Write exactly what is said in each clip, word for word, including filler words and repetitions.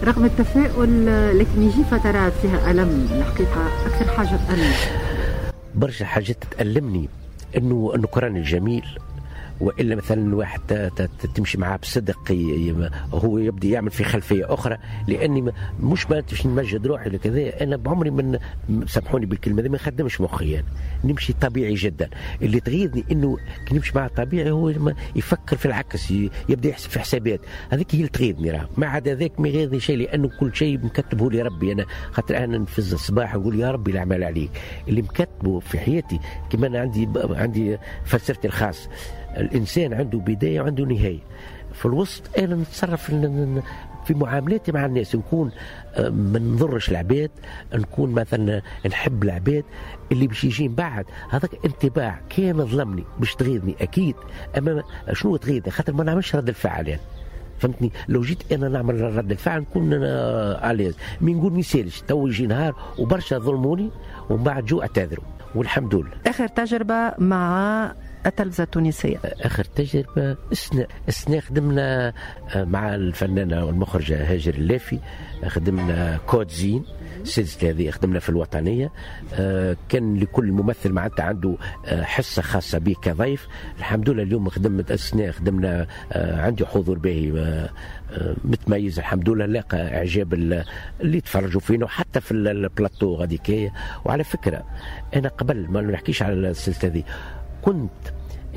رغم التفاؤل لكن يجي فترات فيها ألم، الحقيقة أكثر حاجة تألم. برشا حاجات تألمني، انه النكران الجميل، والا مثلا واحد تمشي معاه بصدق هو يبدا يعمل في خلفية اخرى، لاني مش باش نمجد روحي ولا كذا، انا بعمري من سامحوني بالكلمة هذه ما نخدمش مخي، يعني نمشي طبيعي جدا. اللي تغيظني انه كي نمشي معاه طبيعي هو يفكر في العكس، يبدا يحسب في حسابات، هذيك هي اللي تغيظني. راه ما عدا ذاك ما يغيظني شيء، لانه كل شيء مكتبه لي ربي. انا خاطر انا نفز الصباح نقول يا ربي الاعمال عليك، اللي مكتبه في حياتي. كما انا عندي عندي فلسفتي الخاص، الإنسان عنده بداية وعنده نهاية، في الوسط أنا نتصرف في معاملاتي مع الناس، نكون ما نضرش العباد، نكون مثلا نحب العباد. اللي باش يجي من بعد هذاك انطباع كان ظلمني باش تغيظني أكيد، أما شنو تغيظني؟ خاطر ما نعملش رد الفعل يعني، فهمتني؟ لو جيت انا نعمل رد الفعل نكون انا à l'aise، mais نقول ما يسالش، تو يجي نهار وبرشا ظلموني ومن بعد جو اعتذروا والحمد لله. اخر تجربه مع التلفزة التونسية؟ آخر تجربة السنة السنة خدمنا مع الفنانة والمخرجة هاجر اللافي، خدمنا كود زين، السلسلة هذه خدمنا في الوطنية. كان لكل ممثل معناتها عنده حصة خاصة به كضيف. الحمد لله اليوم خدمت السنة، خدمنا عندي حضور باهي متميز الحمد لله، لاقى إعجاب اللي تفرجوا فينا وحتى في البلاتو غاديكية. وعلى فكرة أنا قبل ما نحكيش على السلسلة هذه كنت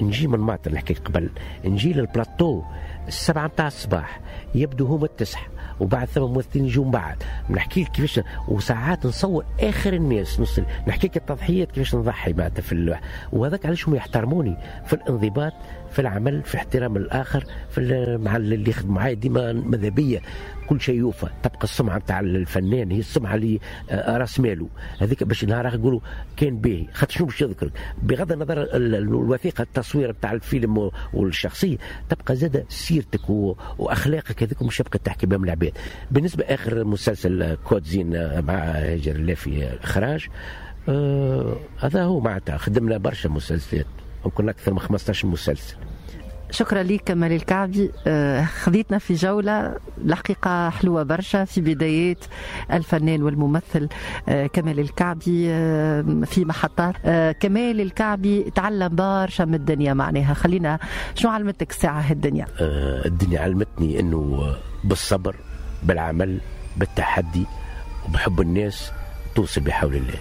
نجي من معطل، نحكي قبل نجي للبلاتو السبعة متاع الصباح، يبدو هما التسعة وبعد ثم ممثلين يجوا من بعد، نحكي لك كيفاش، وساعات نصور اخر الناس نص، نحكي لك التضحيات كيفاش نضحي معناتها في اللوح. وهذاك علاش هم يحترموني في الانضباط، في العمل، في احترام الاخر، في مع اللي يخدم معايا ديما ماذا بيا كل شيء يوفى. تبقى السمعة نتاع الفنان هي السمعة اللي راس ماله هذيك، باش نهار يقولوا كان باهي، خاطر شنو باش يذكرك بغض النظر الوثيقة التصوير نتاع الفيلم والشخصية، تبقى زاد سيرتك واخلاقك هذيك مش تبقى تحكي بهم العباد. بالنسبة اخر مسلسل كود زين مع هاجر اللافي اخراج، آه هذا هو معناتها خدمنا برشا مسلسلات، ممكن اكثر من خمسطاش مسلسل. شكرا لك كمال الكعبي، خذيتنا في جولة الحقيقة حلوة برشا في بدايات الفنان والممثل كمال الكعبي في محطات. كمال الكعبي تعلم برشا من الدنيا، معناها خلينا شنو علمتك الساعة هالدنيا؟ الدنيا علمتني أنه بالصبر، بالعمل، بالتحدي، وبحب الناس توصل بحول الله.